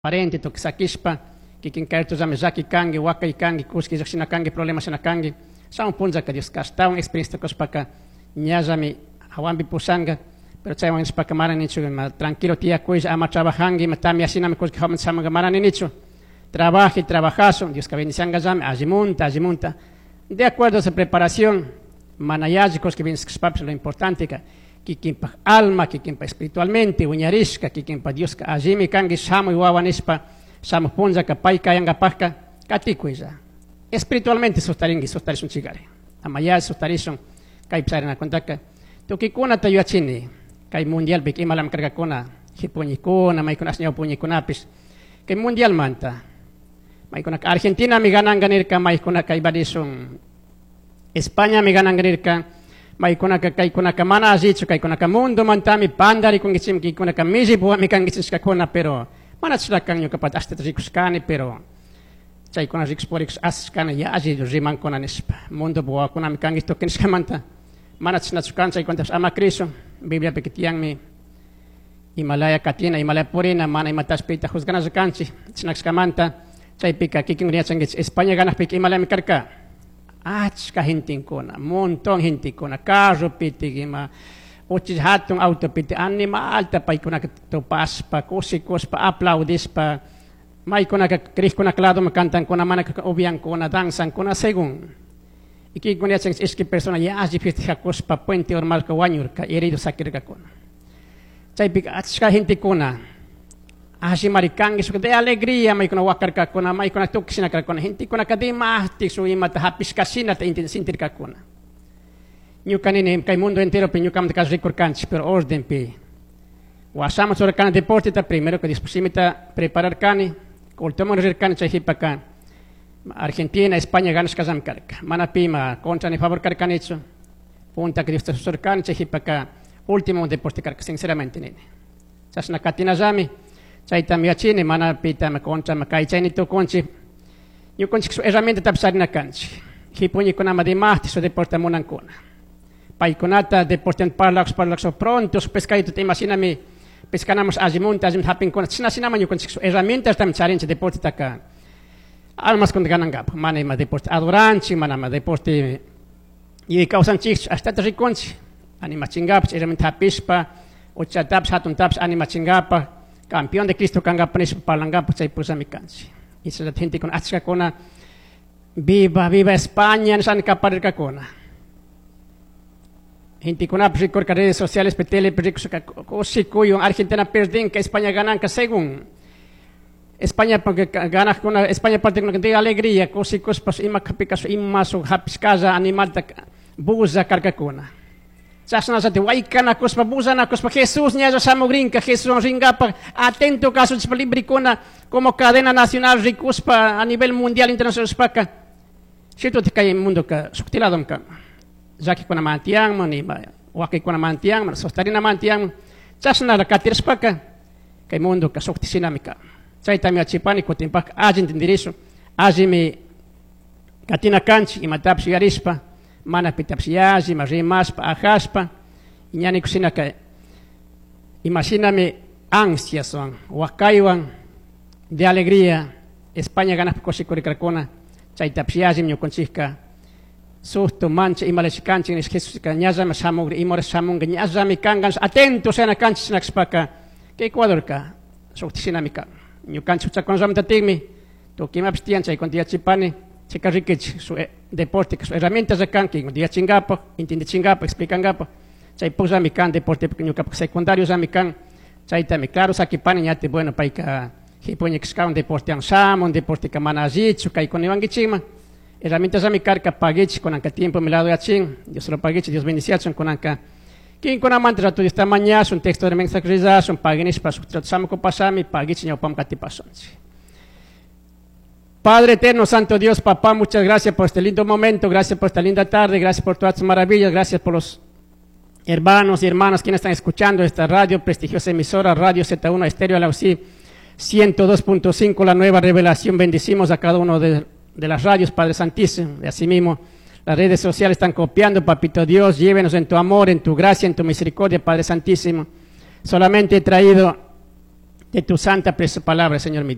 Parente tukuy sakishpa kikin kaytullami llaki kanki, wakay kanki, kushki llakshina kanki, problema shina kanki. Shamun punllaka Dioska ashtawan experiencia kushpaka ñallami hawanpi pushanka. Pero chaywan nishpaka mana nichu ima tranquilo tiyakuylla, ama trabajanki, ima tamyashinami kullki hawaman shamunka mana ninichu. Trabaje, trabajashun, Dioska bendiciankallami, allimunta, allimunta. De acuerdo a su preparación, mana yalli kullki bendiciashpapish lo importante ka kikinpaj alma, kikinpaj espiritualmente, wiñarishka, kikinpaj Dioska allimi kanki shamuy wawa nishpa, shamuj punllaka pay kayankapajka katikuylla. Espiritualmente sustarinki, sustarishunchikari. Ama yalli sustarishun, kaypi charinakuntaka. Tukuykunata yuyachini, kay mundialpi imalami karkakuna, jipuñikuna, maykuna ashñaw puñikunapish, kay mundialmanta. Maykunaka Argentinami gananka nirka, maykunaka ibarishun Españami gananka nirka, maykunaka kaykunaka mana allichu, kaykunaka mundomantami pandarikunkichikmi, kaykunaka millipuwami kankichishkakuna, pero mana chashna ñukapata ashtata rikushkani, pero chaykuna rikush purikush asishkani yalli rimankuna nishpa, mundopi wawakunami kankichik tukuy nishkamanta, mana chashnachu kan, chaykunatapish ama crishun. Bibliapika tiyanmi imalaya katina, imalaya purina, mana imatash pita juzganalla kanchik, chashna kashkamanta, chaypika kikin yachankichik España ganakpika imalayami karka, achka gentekuna, montón gentekuna, carro pitik ima, uchilla hatun auto pitik, animalta paykunaka tupashpa, kushikushpa, aplaudishpa, maykunaka crijkunaka ladoman cantankuna, mana upiankuna, danzankuna, según. Y kikin yachankichik ishki persona yalli festejakushpa puente urmarka wañurka, herido sakirkakuna. Chaypika achka gentekuna, allimari kanki, shuk de alegría maykuna wakarkakuna, maykuna tukuy shina karkakuna, gentekunaka dimashtik shuk imata hapishkashinata sintirkakuna. Ñuka nini kay mundo enteropi ñukamanta kash rikurkanchik, pero ordenpi. Washaman churarkani deporteta, primero que dispusimita prepararkani, cultoman rirkani chay jipaka Argentina, España ganashkallami karka. Mana pima contra ni favor karkanichu. Punta que Dios te susurkani chay jipaka último deporte karka, sinceramente nini. Chashna katinallami, chaytami yachini, mana pita ma contra ma kaychayni tukunchik. Ñukanchik su herramienta tapish charina kanchik. Jipuñikunama dimashti su deporte munankuna. Paykunata deporte parlakush, parlakush, pronto su pescadito te imaginami pescanamos allimunta, allimunta hapinkuna. Chashna shinama ñukanchik su herramientas también charinchik deporte taka. Almas con ganangap, mana ima deporte adoranchik, mana ima deporte y kawsanchik, ashtata rikunchik, animachingapach, herramienta hapishpa, uchatapish, hatuntapish, animachingapaj, campeón de Cristo kangapa nishpa parlangapa chay pusami kanchik. Y esa gente con achkakuna, viva, viva España, nishan kaparirkakuna. Gente con rikurka redes sociales, pe tele, pe rikurka, kushikuyun, Argentina perdinka, España gananka, según. España porque gana con España parte con de alegría, kusikuspas, ima kapikasu, ima su hapiskaza, animalta, buza karkakuna. Chashna zati waykana kuspa, buzana kuspa, Jesús ñalla shamugrinka, Jesús ringapa, atento caso librikuna, como cadena nacional rikuspa a nivel mundial internacional spaka. Cierto te cae mundo ka suktiladom ka. Llakikuna mantianman, ima wakikuna mantianman, sostarina mantianman. Chashna la katirspaka, kay mundo ka suktisinami ka. Chaytami achipani kutinpak alli entendirisu, allimi katina kanchik, imatapish yuyarishpa, mana pitapish yalli, ima rimashpa, ajashpa, ñani kushinaka, imashinami ansiaswan, wakaywan, de alegría, España ganaspa kushikurikarkuna, chaytapish yallimi ñukunchikka, susto, mancha, imalash kanchik, nish Jesuska, ñallami shamugri, imora shamunga, ñallami kangan, atento sean kanchik shinakshpaka, kay Ecuadorka, suktishinami kan. Ñukanchik huchakunallamtatikmi, tukuy imapish tiyan, chaykunata yachipani, chayka rikichik, su deporte, su herramientas kan, kaykunata yachinkapak, entendichinkapak, explicankapak, chay pukllami kan, deporte ñukapak secundariosllami kan, chaytami claro sakipani, ñati, bueno, payka jipuñikashkawan deportewan shamun, deporteka mana allichu, kaykuna niwankichikman, herramientasllami karka, paguichik, kunanka tiempo mi lado yachin, Dios lo paguichik, Dios bendiciachun, kunanka kinkunamanta rato Dios ta mañashun, texto de mensaje rizashun, paguinishpa, shuk trato shamuku pasami, paguichik ñawpam katipasunchik. Padre eterno, Santo Dios, Papá, muchas gracias por este lindo momento, gracias por esta linda tarde, gracias por todas tus maravillas, gracias por los hermanos y hermanas quienes están escuchando esta radio, prestigiosa emisora, Radio Z1 Estéreo Alausí, 102.5, la nueva revelación. Bendecimos a cada uno de las radios, Padre Santísimo, y asimismo las redes sociales están copiando, Papito Dios, llévenos en tu amor, en tu gracia, en tu misericordia, Padre Santísimo. Solamente he traído De tu santa preciosa palabra, Señor mi Dios.